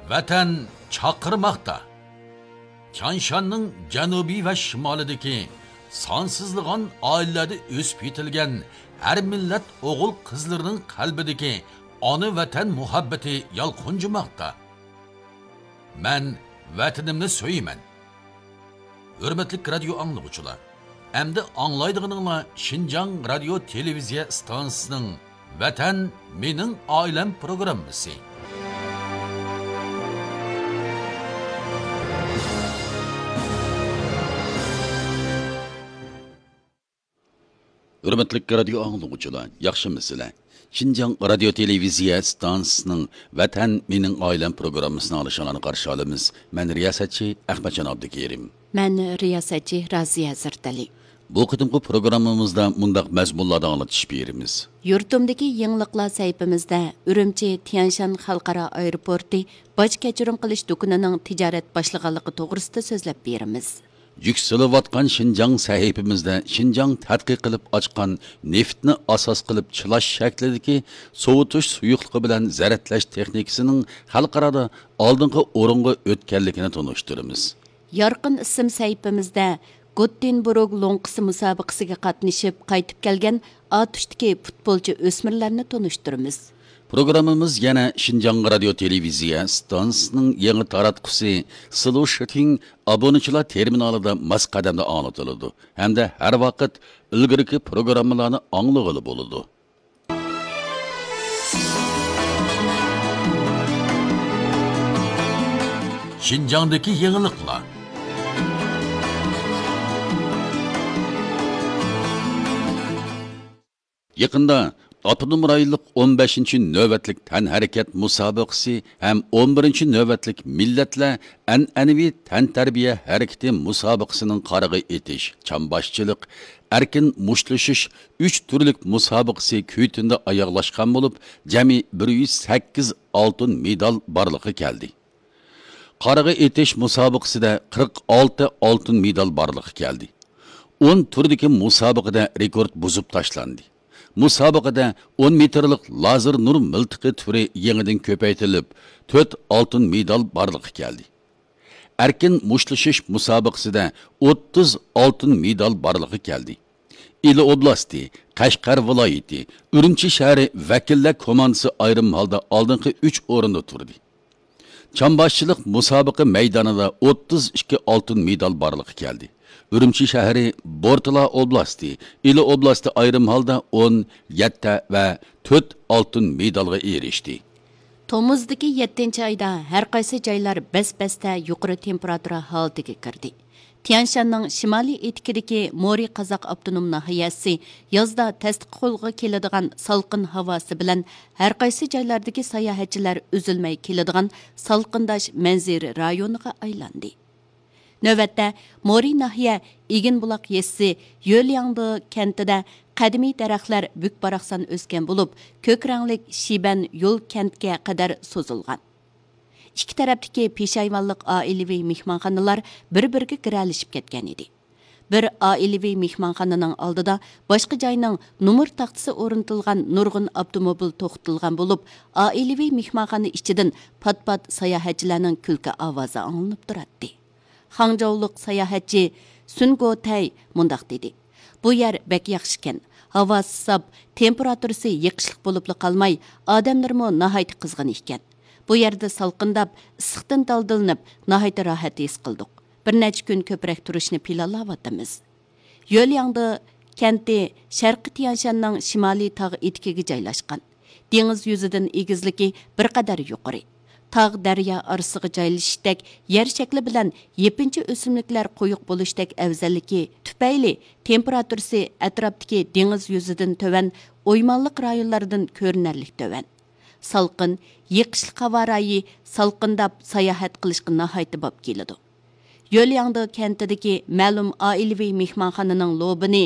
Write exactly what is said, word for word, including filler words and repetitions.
ۋەتەن چاقىرماقتا. تيانشاننىڭ جەنۇبى ۋە شىمالىدىكى سانسىزلىغان ئائىلىلەردە ئۆسۈپ يېتىلگەن ھەر مىللەت ئوغۇل-قىزلىرىنىڭ قەلبىدىكى ئانا ۋەتەن مۇھەببىتى يالقۇنجىماقتا. مەن ۋەتىنىمنى سۆيىمەن. ھۆرمەتلىك رادىيو ئاڭلىغۇچىلار، ئەمدى ئاڭلايدىغىنىڭلار شىنجاڭ رادىيو تېلېۋىزىيە ئىستانسىسىنىڭ ۋەتەن مېنىڭ ئائىلەم پروگراممىسى. ھۆرمەتلىك رادىيو ئاڭلىغۇچىلار، ياخشىمۇسىلەر؟ شىنجاڭ رادىيو تېلېۋىزىيە ئىستانسىسىنىڭ ۋەتەن مېنىڭ ئائىلەم پروگراممىسىنى ئاڭلىشىڭلارنى قارشى ئالىمىز. مەن رىياسەتچى ئەخمەتجان ئابدۇكېرىم. مەن رىياسەتچى رازىيە ھەزرىتەلى. بۇ قېتىمقى پروگراممىمىزدا مۇنداق مەزمۇنلاردا ئاڭلىتىش بېرىمىز. يۇرتۇمدىكى يېڭىلىقلار سەھىپىمىزدە ئۈرۈمچى تيەنشان خەلقئارا ئايروپورتى باج كەچۈرۈم قىلىش دۇكىنىنىڭ تىجارەت باشلىغانلىقى توغرىسىدا سۆزلەپ بېرىمىز. يۈكسىلىۋاتقان شىنجاڭ سەھىپىمىزدە شىنجاڭ تەتقىق قىلىپ ئاچقان نېفىتنى ئاساس قىلىپ چىلاش شەكلىدىكى سوۋۇتۇش سۇيۇقلۇقى بىلەن زەرەتلەش تېخنىكىسىنىڭ خەلقئارادا ئالدىنقى ئورۇنغا ئۆتكەنلىكىنى تونۇشتۇرىمىز. يارقىن ئىسىم سەھىپىمىزدە گوتتېنبۇرگ لوڭقىسى مۇسابىقىسىگە قاتنىشىپ قايتىپ كەلگەن ئاتۇشتىكى پۇتبولچى ئۆسمۈرلەرنى تونۇشتۇرىمىز. پروگراممىمىز يەنە شىنجاڭ رادىيو تېلېۋىزىيە ئىستانسىسىنىڭ يېڭى تاراتقۇسى سلۇشىتىڭ ئابۇنىچىلار تېرمىنالىدا ماس قەدەمدە ئاڭلىتىلىدۇ ھەمدە ھەر ۋاقىت ئىلگىرىكى پروگراممىلارنى ئاڭلىغىلى بولىدۇ. شىنجاڭدىكى يېڭىلىقلار. يېقىندا ئاپتونوم رايونلۇق ئون بەشىنچى نۆۋەتلىك تەنھەرىكەت مۇسابىقىسى ھەم ئون بىرىنچى نۆۋەتلىك مىللەتلەر ئەنئەنىۋى تەنتەربىيە ھەرىكىتى مۇسابىقىسىنىڭ قارىغا ئېتىش، چامباشچىلىق، ئەركىن مۇشتلىشىش ئۈچ تۈرلۈك مۇسابىقىسى كۈيتۈندە ئاياغلاشقان بولۇپ، جەمئىي بىر يۈز سەككىز ئالتۇن مېدال بارلىققا كەلدى. قارىغا ئېتىش مۇسابىقىسىدە قىرىق ئالتە ئالتۇن مېدال بارلىققا كەلدى. ئون تۈردىكى مۇسابىقىدە رېكورت بۇزۇپ تاشلاندى. مۇسابىقىدە ئون مېتىرلىق لازېر نۇر مىلتىقى تۈرى يېڭىدىن كۆپەيتىلىپ، تۆت ئالتۇن مېدال بارلىققا كەلدى. ئەركىن مۇشتلىشىش مۇسابىقىسىدە ئوتتۇز ئالتۇن مېدال بارلىققا كەلدى. ئىلى ئوبلاستى، قەشقەر ۋىلايىتى، ئۈرۈمچى شەھىرى ۋەكىللەر كوماندىسى ئايرىم ھالدا ئالدىنقى ئۈچ ئورۇندا تۇردى. چامباشچىلىق مۇسابىقە مەيدانىدا ئوتتۇز ئىككى ئالتۇن مېدال بارلىققا كەلدى. ئۈرۈمچى شەھىرى، بورتالا ئوبلاستى، ئىلى ئوبلاستى ئايرىم ھالدا ئون، يەتتە ۋە تۆت ئالتۇن مېدالغا ئېرىشتى. تومۇزدىكى يەتتىنچى ئايدا ھەر قايسى جايلار بەس-بەستە يۇقىرى تېمپېراتۇرا ھالىتىگە كىردى. تيەنشاننىڭ شىمالىي ئېتىكىدىكى مورى قازاق ئاپتونوم ناھىيەسى يازدا تەستە قولغا كېلىدىغان سالقىن ھاۋاسى بىلەن ھەر قايسى جايلاردىكى ساياھەتچىلەر ئۈزۈلمەي كېلىدىغان سالقىنداش مەنزىرە رايونىغا ئايلاندى. نۆۋەتتە، مورى ناھىيە ئېگىنبۇلاق يېزىسى يۆلياڭدې كەنتىدە قەدىمىي دەرەخلەر بۈك-باراقسان ئۆسكەن بولۇپ، كۆك رەڭلىك شىبەن يول كەنتكە قەدەر سوزۇلغان. ئىككى تەرەپتىكى پېشايۋانلىق ئائىلىۋى مېھمانخانىلار بىر-بىرىگە گىرەلىشىپ كەتكەنىدى. بىر ئائىلىۋى مېھمانخانىنىڭ ئالدىدا باشقا جاينىڭ نومۇر تاختىسى ئورنىتىلغان نۇرغۇن ئاپتوموبىل توختىتىلغان بولۇپ، ئائىلىۋى مېھمانخانا ئىچىدىن پات-پات ساياھەتچىلەرنىڭ كۈلكە ئاۋازى ئاڭلىنىپ تۇراتتى. خاڭجاۋلۇق ساياھەتچى سۈن گوتەي مۇنداق دېدى: «بۇ يەر بەك ياخشىكەن. ھاۋاسى ساپ، تېمپېراتۇرىسى يېقىشلىق بولۇپلا قالماي، ئادەملىرىمۇ ناھايىتى قىزغىن ئىكەن. بۇ يەردە سالقىنداپ، ئىسسىقتىن دالدىلىنىپ، ناھايىتى راھەت ھېس قىلدۇق. بىر نەچچە كۈن كۆپرەك تۇرۇشنى پىلانلاۋاتىمىز.» يۆلياڭدې كەنتى شەرقىي تيەنشاننىڭ شىمالىي تاغ ئېتىكىگە جايلاشقان. دېڭىز يۈزىدىن ئېگىزلىكى بىر قەدەر يۇقىرى. تاغ، دەريا ئارىسىغا جايلىشىشتەك يەر شەكلى بىلەن يېپىنچا ئۆسۈملۈكلەر قويۇق بولۇشتەك ئەۋزەللىكى تۈپەيلى تېمپېراتۇرىسى ئەتراپتىكى دېڭىز يۈزىدىن تۆۋەن ئويمانلىق رايونلىرىدىن كۆرۈنەرلىك تۆۋەن. سالقىن، يېقىشلىق ھاۋا رايى سالقىنداپ ساياھەت قىلىشقا ناھايىتى باب كېلىدۇ. يۆلياڭدې كەنتىدىكى مەلۇم ئائىلىۋى مېھمانخانىنىڭ لوبىنى